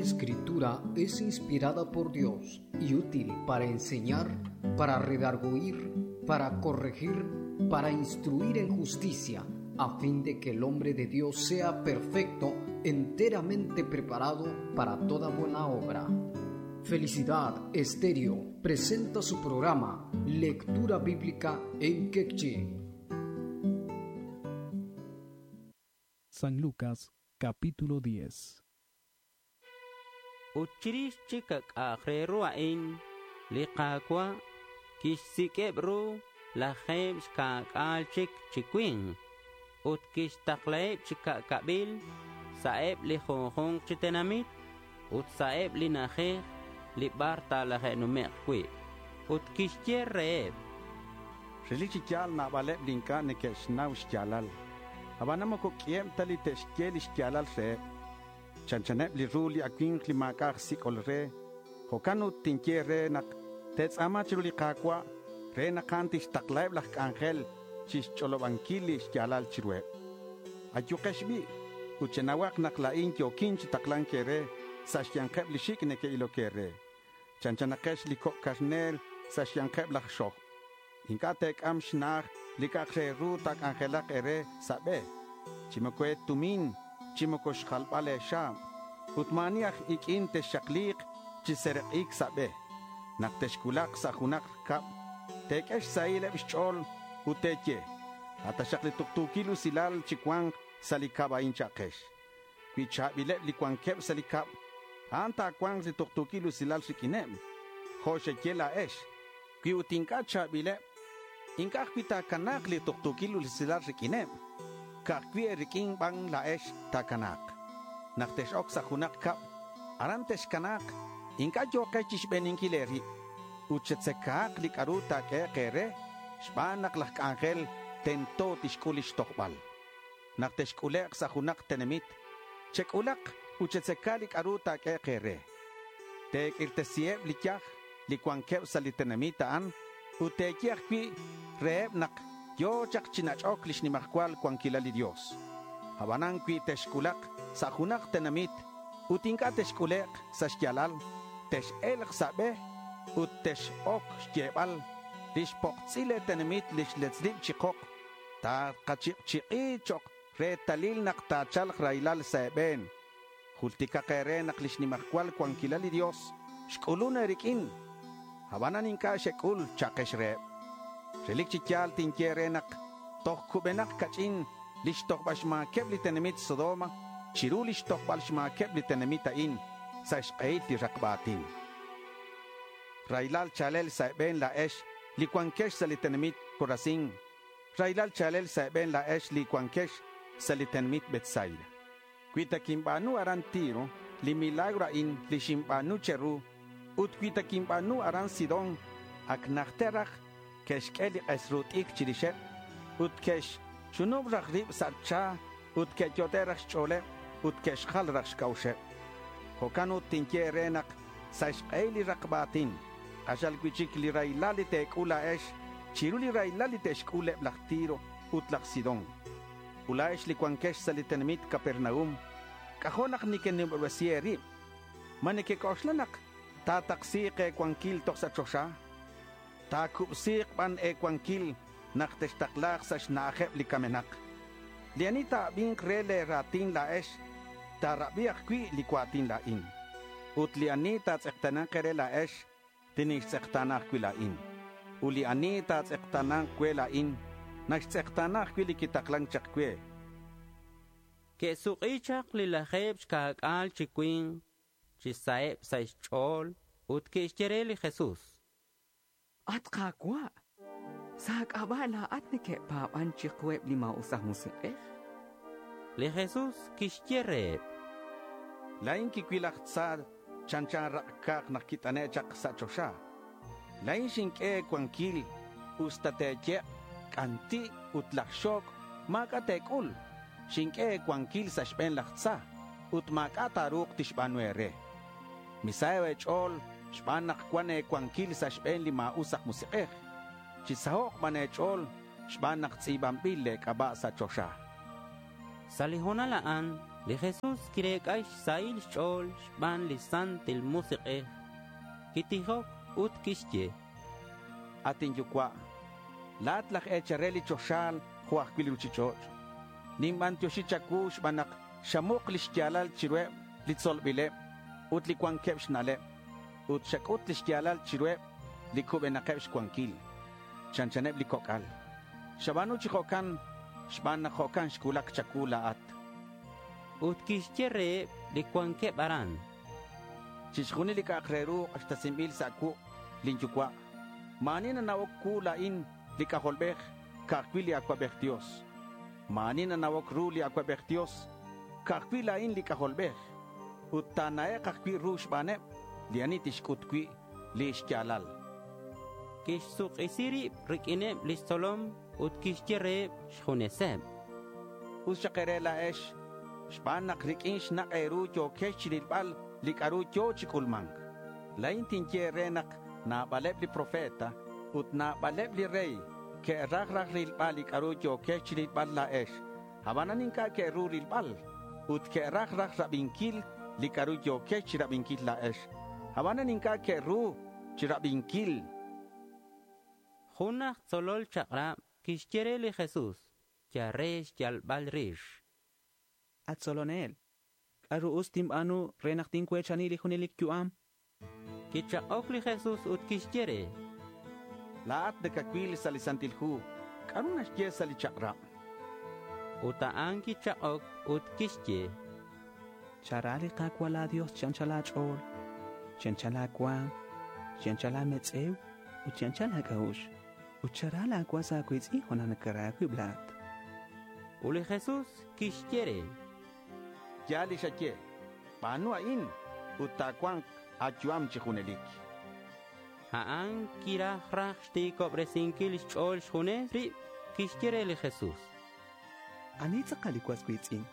Escritura es inspirada por Dios y útil para enseñar, para redarguir, para corregir, para instruir en justicia, a fin de que el hombre de Dios sea perfecto, enteramente preparado para toda buena obra. Felicidad Estéreo presenta su programa Lectura Bíblica en Quechí. San Lucas capítulo 10. Ut chirix chik k'a'aq re ru a'in li Qaawa' kixsik'eb' ru lajeeb' xka'k'aal chik chi winq ut kixtaqlaheb' chi ka'kab'il sa'eb' li junjunq chi tenamit ut sa'eb' li na'ajej li bar taalaje'nume'q wi'. Ut kixye reheb': Relik chi yaal naab'aleb' li ink'a' neke'xnaw xyaalal. Ab'anan moko k'iheb' ta li te'xye li xyaalal reheb'. Chanchaneb' li ru li awimq li maak'a' aj sik'ol re. Jo'kan ut tinye re naq te'tz'aama chiru li Qaawa' re naq a'an tixtaqlaheb' laj k'anjel chixch'olob'ankil li xyaalal chiruheb'. Ayuqex b'i' ut chenawaq naq laa'in yookin chi taqlank eere sa' xyanqeb' li xik' neke'ilok eere. Chanchanaqex li kok' karneer sa' xyanqeb' laj xojb'. Ink'a' teek'am xna'aj li k'a'aq re ru taak'anjelaq eere sa' b'e, chi moko eetumin, chi moko xjalb'al eexaab', ut maa'ani aj ik'in texxaqliiq chi serek'iik sa' b'e. Naq texcuulak sa' junaq cab, teek'e xsahileb' xch'ool ut teeye, "Ataxaq li tuktuukil usilal chi cuanq sa' li cab a'in cha'kex." Cui cha̱bileb li cuanqueb sa' li cab, a'an ta̱cuanq li tuktuukil usilal riq'uineb, jo' xeye la̱ex. Cui ut ink'a' cha̱bileb, ink'a' ajcui' ta̱cana̱k li tuktuukil usilal riq'uineb. Ka'ajcui' e̱riq'uin ban la̱ex ta̱cana̱k. Nak tex-oc sa' junak cab, aran texcana̱k. Ink'a' yo̱kex chixbeninquil e̱rib. Ut chetzeca̱k li c'a'ru ta̱q'uehek e̱re xban nak laj c'anjel tento tixc'ul lix tojbal. Nak texc'ulek' sa' junak tenamit, chec'ulak ut chetzeca li c'a'ru ta̱q'uehek e̱re. Te̱q'uirtesiheb li yaj li cuanqueb sa' li tenamit a'an ut te̱ye ajcui' reheb nak yo̱ chak chi nach'oc lix nimajcual cuanquilal li Dios. Abanan cui texc'ulak sa' junak tenamit ut ink'a' texc'ulek' sa' xyalal, tex-elk sa' be ut tex-oc xyebal lix poktz'il le tenamit lix letzlib chi kok. Ta̱kachi'kchi'i chok retalil nak ta̱chalk raylal sa' e̱be̱n. Jultikak e̱re nak lix nimajcual cuanquilal li Dios xc'ulun e̱riq'uin. Abanan ink'a' xec'ul cha'kex reheb. Relik chi yaal tinye re naq toj kubenak kach'in lix tojb'al xma̱keb li tenamit Sodoma chiru lix tojb'al xma̱keb li tenamit a'in sa' xk'ehil li rakb'a̱tin. Raylal chalel sa' e̱be̱n la̱ex li cuanquex sa' li tenamit Corazín. Raylal chalel sa' e̱be̱n la̱ex li cuanquex sa' li tenamit Betsaida. Cui ta quinba̱nu aran Tiro li milagro a'in li xinba̱nu cheru ut cui ta quinba̱nu aran Sidón ac najter raj ke'xq'ue li k'es ru t'icr chirixeb ut ke'xchunub raj rib sa' cha ut ke'yot'e raj xch'o̱leb ut ke'xjal raj xc'a'uxeb. Jo'kan ut tinye re naq sa' xk'ehil li rakb'a̱tin q'axal cui'chic li raylal li te̱c'ul la̱ex chiru li raylal li te'xc'ul eb laj Tiro ut laj Sidón. Ut la̱ex li cuanquex sa' li tenamit Capernaum, k'ajo' naq nekenimob'resi e̱rib. Ma nekek'oxla naq ta̱taksi̱k e̱cuanquil toj sa' choxa? Ta̱cubsi̱k ban e̱cuanquil nak textakla̱k sa' xna'ajeb li kamenak. Li ani ta̱abi̱nk re le̱ ra̱tin la̱ex, ta̱rabi ajcui' li cua̱tin la̱in. Ut li ani ta̱tz'ekta̱na̱nk e̱re la̱ex, tinixtz'ekta̱na ajcui' la̱in. Ut li ani ta̱tz'ekta̱na̱nk cue la̱in, naxtz'ekta̱na ajcui' li quitaklan chak cue. Ke'suk'i chak li lajeeb xka'k'aal chi cui̱nk chi saheb sa' xch'o̱l ut ke'xye re li Jesús: At Qaawa', sa' k'ab'a' laa'at neke'paab'an chiqueb li maa'us aj musiq'ej. Li Jesús kixye reheb: La̱in quicuil laj tza chanchan rak'caq nak quit'ane' chak sa' choxa. La̱in xinq'ue cuanquil usta te̱ye' c'anti' ut laj xoc' ma̱c'a' te̱c'ul. Xinq'ue cuanquil sa' xbe̱n laj tza ut ma̱c'a' ta̱ru̱k tixba̱nu e̱re. Misaho' e̱ch'o̱l xban nak cuan e̱cuanquil sa' xbe̱n li ma̱us aj musik'ej. Chisaho'k ban e̱ch'o̱l xban nak tz'i̱banbil le̱ c'aba' sa' choxa. Sa' li ho̱nal a'an Li Jesús kirec'a xsahil xch'o̱l xban li Santil Musik'ej. Quitijok ut quixye: At inyucua', la̱at laj e̱chal re li choxal jo' ajcui' li ruchich'och'. Ninbantioxi cha̱cuu xban nak xamuk li xya̱lal chiruheb li tzolbileb ut li cuanqueb xna'leb. Ut xac'ut li xya̱lal chiruheb li cubenakeb xcuanquil. Chanchaneb li coc'al. Xaba̱nu chi jo'can xban nak jo'can xcuulac cha̱cuu la̱at. Ut quixye reheb li cuanqueb aran: Chixjunil li c'a'ak re ru k'axtesinbil sa' cuuk' lin yucua'. Ma̱ ani nana'oc cuu la̱in li C'ajolbej, ca'ajcui' li Acuabej Dios. Ma̱ ani nana'oc ru li Acuabej Dios, ca'ajcui' la̱in li C'ajolbej. Ut ta̱na'ek' ajcui' ru xbaneb li ani tixc'ut cui' li xya̱lal. Quixsuk'isi rib riq'uineb lix tzolom ut quixye reheb xjuneseb: Us xak e̱re la̱ex xban nak riq'uin xnak' e̱ru yo̱quex chirilbal li c'a'ru yo̱ chi c'ulma̱nc. La̱in tinye e̱re nak nabaleb li profeta ut nabaleb li rey que'raj raj rilbal li c'a'ru yo̱quex chirilbal la̱ex, abanan inc'a' que'ru rilbal. Ut que'raj raj rabinquil li c'a'ru yo̱quex chirabinquil la̱ex, abanan inc'a' que'ru chirabinquil. Jun aj tzolol chak'rab quixye re li Jesús yal re xyalbal rix. At tzolonel, k'a'ru us tinb'aanu re naq tincuechani li junelik yu'am? Quichak'oc li Jesús ut quixye re: La̱at nacacuil sa' li Santil Hu, k'a'ru naxye sa' li chak'rab? Ut a'an quichak'oc ut quixye: Chara li Qaawa' laa Dios chi anchal aach'ool, chi anchal aawa̱m, chi anchal aametz'ew ut chi anchal aak'a'uxl. Ut chara laa was aawiitz'in jo' naq nakara aawib' la̱at. Ut li Jesús quixye re: Yaal li xaye. B'aanu a'in ut ta̱cua̱nk a̱yu'am chi junelik. A'an quiraj raj xti̱cobresinkil xch'o̱l xjunes rib. Quixye re li Jesús: Ani tz'aqal li was wiitz'in?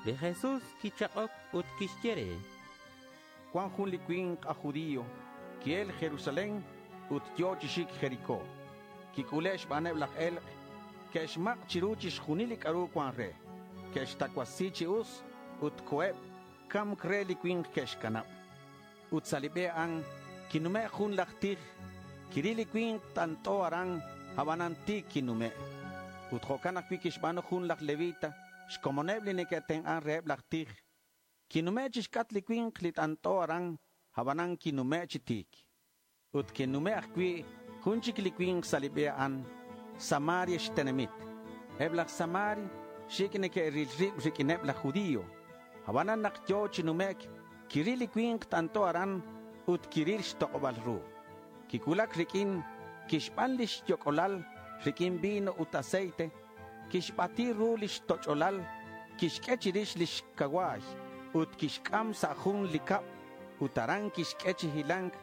Li Jesús quichak'oc ut quixye re: Cuan jun li cui̱nk aj judío qui'el Jerusalén ut yo̱ chi xic Jericó. Quic'ule' xbaneb laj e̱lk'. Que'xmak' chiru chixjunil li c'a'ru cuan re. Que'xtacuasi chi us ut co̱eb camc re li cui̱nk que'xcanab. Ut sa' li be a'an quinume' jun laj tij. Quiril li cui̱nk t'ant'o aran, abanan ti̱c quinume'. Ut jo'can ajcui' quixba̱nu jun laj levita, xcomoneb li neque'tenk'an reheb laj tij. Quinume' chixc'atk li cui̱nk li t'ant'o aran, abanan quinume' chi ti̱c. Ut quinume' ajcui' jun chic li cui̱nk sa' li be a'an, Samaria xtenamit. Eb laj Samaria xic' neque'ril rib riq'uineb laj judío. Abanan nak yo̱ chi numec', quiril li cui̱nk t'ant'o aran ut quiril xtok'obal ru. Quicuulac riq'uin, quixban lix yoc'olal riq'uin vino ut aceite, quixbati ru lix toch'olal, quixq'ue chirix lix cacua̱y ut quixc'am sa' jun li cab ut aran quixq'ue chi hilanc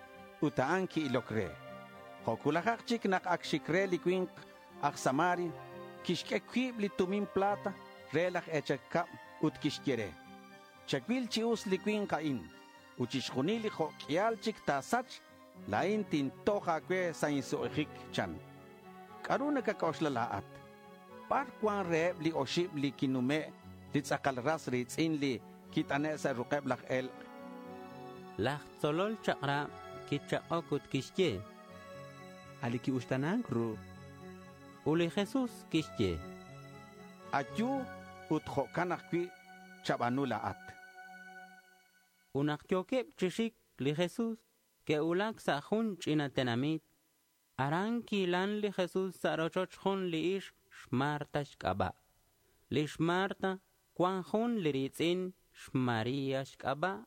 ut a'an qui-iloc re. Jo' cuulajak chic nak ac xic re li cui̱nk aj Samaria, quixq'ue cuib li tumin plata re laj e̱chal cab ut quixye re: Chacuil chi us li cui̱nk a'in ut chixjunil li jo' q'uial chic ta̱sach, la̱in tintoj a̱cue sa' insuk'ijic, chan. C'a'ru nacac'oxla la̱at? Bar cuan reheb li oxib li quinume' li tz'akal ras ri̱tz'in li quit'ane' sa' ruk'eb laj e̱lk'? Laj tzolol chak'rab quichak'oc ut quixye: A' li quiuxta̱nanc ru. Ut li Jesús quixye: Ayu ut jo'can ajcui' chab'a̱nu la̱at. Ut nak yo̱queb chi xic li Jesús, que'cuulac sa' jun ch'ina tenamit. Aran quihilan li Jesús sa' rochoch jun li ixk xMarta xc'aba'. Lix Marta cuan jun li ri̱tz'in xMaría xc'aba'.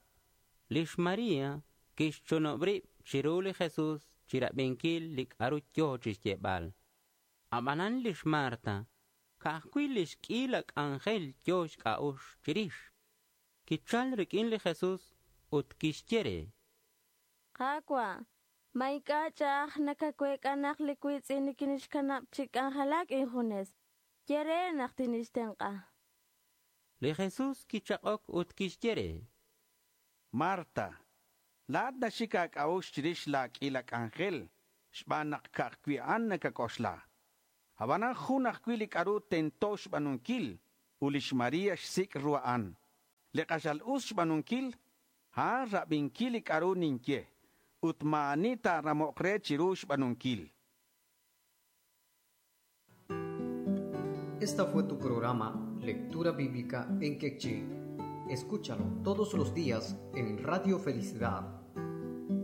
Lix María quixchunub rib chiru li Jesús chirabinquil li c'a'ru yo̱ chixyebal. Abanan lix Marta ca'ajcui' lix q'uila c'anjel yo̱ xc'a'ux chirix. Quichal riq'uin li Jesús ut quixye re: Qaawa', ma ink'a' ch'a'aj nakacuec'a nak li cuitz'in nikinixcanab chi k'anjelac injunes. Ye re nak tinixtenk'a. Li Jesús quichak'oc ut quixye re: Marta, la̱at naxic a̱c'a'ux chirix la̱ q'uila c'anjel xban nak ca'ajcui' a'an nacac'oxla. Abanan jun ajcui' li c'a'ru tento xba̱nunquil. Ut lix María xsic' ru a'an. Li k'axal us xb'aanunkil, a'an rabinquil li c'a'ru ninye. Ut ma̱ ani ta̱ramok re chiru xb'aanunkil. Esta fue tu programa Lectura Bíblica en Quechí. Escúchalo todos los días en Radio Felicidad.